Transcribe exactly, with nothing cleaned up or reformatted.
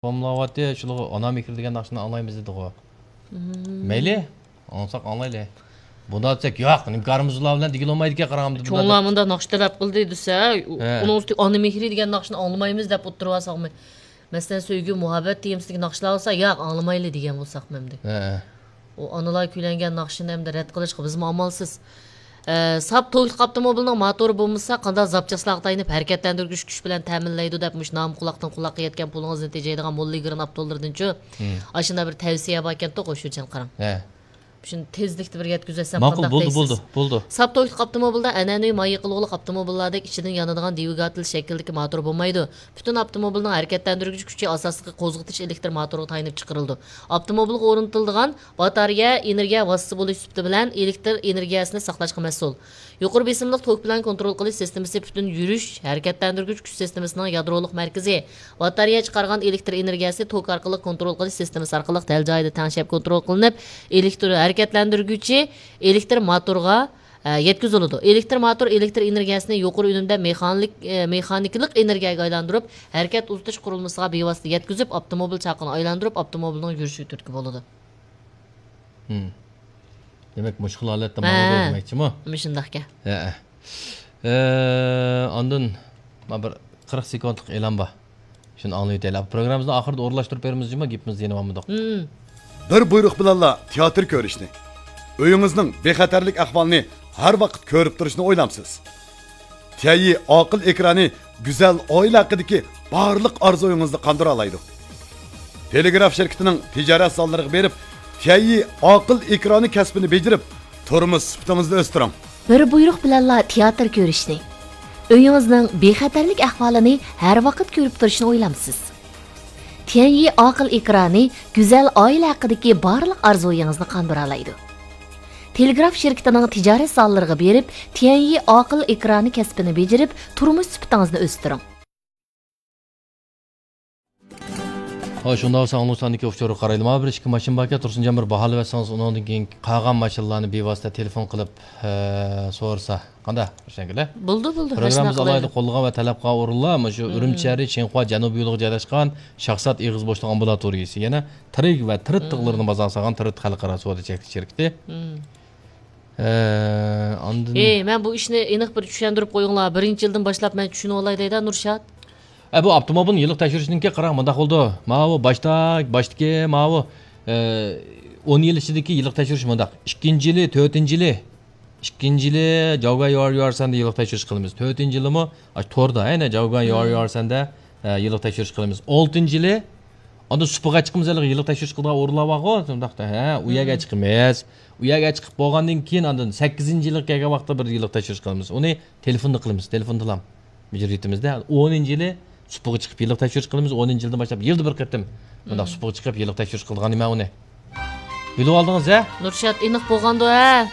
تاماملاۋاتتى، شۇلارغا ئانا مېھرى دېگەن ناخشىنى ئاڭلايمىز دېدىغۇ. مەيلى، ئاڭلىساق ئاڭلايلى. بۇنداق دېسەك، ياق، نېمە كارىمىز ئۇلار بىلەن دېگىلى بولمايدىكەن، قاراڭ. بۇنداق مۇنداق ناخشا تەلەپ قىلدى دېسە، ئۇنىڭ ئۈستىگە ئانا مېھرى دېگەن ناخشىنى ئاڭلىمايمىز دەپ ئولتۇرۇۋالساقمۇ؟ مەسىلەن، سۆيگۈ، مۇھەببەت تېمىسىدىكى ناخشىلار بولسا، ياق، ئاڭلىمايلى دېگەن بولساقمۇ ئەمدى. ئۇ ئانىلار كۈيلەنگەن ناخشىنى ئەمدى رەت قىلىشقا بىزمۇ ئامالسىز. ئە، ساپ توكلۇق ئاپتوموبىلنىڭ موتورى بولمىسا، قانداق زاپچاسلارغا تايىنىپ ھەرىكەتلەندۈرگۈچ كۈچ بىلەن تەمىنلەيدۇ دەپ، مۇشۇ نامى قۇلاقتىن قۇلاققا يەتكەن پۇلىڭىزنى تېجەيدىغان موللا ئىگرىن ئاپتولىرىدىنچۇ؟ ئاشۇنداق بىر تەۋسىيە باركەنتۇ، قوشۇچان قاراڭ. شۇنى تېزلىكتە بىر يەتكۈزۈۋەتسەم ماقۇل، قانداق بولدى، دەيسىز؟ بولدى، بولدى. ساپ توكلۇق ئاپتوموبىلدا ئەنئەنىۋى ماي يېقىلغۇلۇق ئاپتوموبىللاردەك ئىچىدىن يانىدىغان دۋىگاتېل شەكلىدىكى موتور بولمايدۇ. پۈتۈن ئاپتوموبىلنىڭ ھەرىكەتلەندۈرگۈچ كۈچى ئاساسلىقى قوزغىتىش ئېلېكتر موتورىغا تايىنىپ چىقىرىلىدۇ. ئاپتوموبىلغا ئورنىتىلىدىغان باتارېيە ئېنېرگىيە ۋاسىتىسى بولۇش سۈپىتى بىلەن ئېلېكتر ئېنېرگىيەسىنى ساقلاشقا مەسئۇل. يۇقىرى بېسىملىق توك بىلەن كونترول قىلىش سىستېمىسى پۈتۈن يۈرۈش، ھەرىكەتلەندۈرگۈچ كۈچ سىستېمىسىنىڭ يادرولۇق مەركىزى. باتارېيە چىقارغان ئېلېكتر ئېنېرگىيەسى توك ئارقىلىق كونترول قىلىش سىستېمىسى ئارقىلىق دەل جايىدا تەڭشەپ كونترول قىلىنىپ، ئېلېكتر ھەرىكەتلەندۈرگۈچى ئېلېكتر موتورغا، ئە، يەتكۈزۈلىدۇ. ئېلېكتر موتور ئېلېكتر ئېنېرگىيەسىنى يۇقىرى ئۈنۈمدە مېخانىك، ئە، مېخانىكىلىق ئېنېرگىيەگە ئايلاندۇرۇپ، ھەرىكەت ئۇزىتىش قۇرۇلمىسىغا بىۋاسىتە يەتكۈزۈپ، ئاپتوموبىل چاقىنى ئايلاندۇرۇپ، ئاپتوموبىلنىڭ يۈرۈشىگە تۈرتكە بولىدۇ. ھىم. دېمەك، مۇشۇ خىل ھالەتتە ماڭىدۇ دېمەكچىمۇ؟ مۇشۇنداقكەن. ھەئە. ئە، ئاندىن مانا بىر قىرىق سېكۇنتلۇق ئېلان بار. شۇنى ئاڭلىۋېتەيلى. پروگراممىمىزنى ئاخىرىدا ئورۇنلاشتۇرۇپ بېرىمىز جۇما، گېپىمىزدە يەنە بارمىدۇق. بىر بۇيرۇق بىلەنلا تىياتىر كۆرۈشنى، ئۆيىڭىزنىڭ بىخەتەرلىك ئەھۋالىنى ھەر ۋاقىت كۆرۈپ تۇرۇشنى ئويلامسىز؟ تيەنيى ئاقىل ئېكرانى گۈزەل ئائىلە ھەققىدىكى بارلىق ئارزۇيىڭىزنى قاندۇرالايدۇ. تېلېگراف شىركىتىنىڭ تىجارەت زاللىرىغا بېرىپ، تيەنيى ئاقىل ئېكرانى كەسپىنى بېجىرىپ، تۇرمۇش سۈپىتىڭىزنى ئۆستۈرۈڭ. بىر بۇيرۇق بىلەنلا تىياتىر كۆرۈشنى، ئۆيىڭىزنىڭ بىخەتەرلىك ئەھۋالىنى ھەر ۋاقىت كۆرۈپ تۇرۇشنى ئويلامسىز؟ تيەنيى ئاقىل ئېكرانى گۈزەل ئائىلە ھەققىدىكى بارلىق ئارزۇيىڭىزنى قاندۇرالايدۇ. تېلېگراف شىركىتىنىڭ تىجارەت زاللىرىغا بېرىپ، تيەنيى ئاقىل ئېكرانى كەسپىنى بېجىرىپ، تۇرمۇش سۈپىتىڭىزنى ئۆستۈرۈڭ. ھاي، شۇنداق بولسا ئاڭلىغۇچىلاردىكى ئۇچۇرغا قارايلى. مانا بىر ئىككى ماشىنا باركەن، تۇرسۇنجان بىر باھالىۋەتسىڭىز، ئۇنىڭدىن كېيىن قالغان ماشىنىلارنى بىۋاسىتە تېلېفون قىلىپ، ئە، سورىسا. قانداق، روشەنگۈل؟ بولدى، بولدى. پروگراممىمىز ئالاھىدە قوللىغان ۋە تەلەپ قىلغان ئورۇنلار مۇشۇ ئۈرۈمچى شەھىرى چىڭخۇا جەنۇبىي يولىغا جايلاشقان شاھزات ئېغىز بوشلۇق ئامبۇلاتورىيىسى. يەنە تىرىك ۋە تىرىت تىغلىرىنى بازار سالغان تىرىت خەلقئارا سودا چەكلىك شىركىتى. ئە، ئاندىن ئېي، مەن بۇ ئىشنى ئېنىق بىر چۈشەندۈرۈپ قويۇڭلار. بىرىنچى يىلدىن باشلاپ مەن چۈشىنىۋالاي دەيدۇ، نۇرشات. ئە، بۇ ئاپتوموبىلنى يىللىق تەكشۈرۈشنىڭكى قاراڭ، مۇنداق بولىدۇ. ماۋۇ باشتا، باشتىكى ماۋۇ، ئە، ئون يىل ئىچىدىكى يىللىق تەكشۈرۈش مۇنداق. ئىككىنچى يىلى، تۆتىنچى يىلى، ئىككىنچى يىلى جاۋگەن يۇئەر يۇئەرسەندە يىللىق تەكشۈرۈش قىلىمىز. تۆتىنچى يىلىمۇ ئاشۇ توردا، يەنە جاۋگەن يۇئەر يۇئەرسەندە، ئە، يىللىق تەكشۈرۈش قىلىمىز. ئالتىنچى يىلى ئاندىن سۇپىغا چىقىمىز، ھېلىقى يىللىق تەكشۈرۈش قىلىدىغان ئورۇنلار بارغۇ، شۇنداقتا، ھە، ئۇ يەرگە چىقىمىز. ئۇ يەرگە چىقىپ بولغاندىن كېيىن، ئاندىن سەككىزىنچى يىلغا كەلگەن ۋاقىتتا بىر يىللىق تەكشۈرۈش قىلىمىز. ئۇنى تېلېفوندا قىلىمىز، تېلېفوندىلا مۇجرىتىمىزدە. ئونىنچى يىلى سۇپىغا چىقىپ يىللىق تەكشۈرۈش قىلىمىز. ئونىنچى يىلدىن باشلاپ يىلدا بىر قېتىم مۇنداق سۇپىغا چىقىپ يىللىق تەكشۈرۈش قىلىدىغان نېمە ئۇنى. بىلىۋالدىڭىز، ھە؟ نۇرشات، ئېنىق بولغاندۇ، ھە؟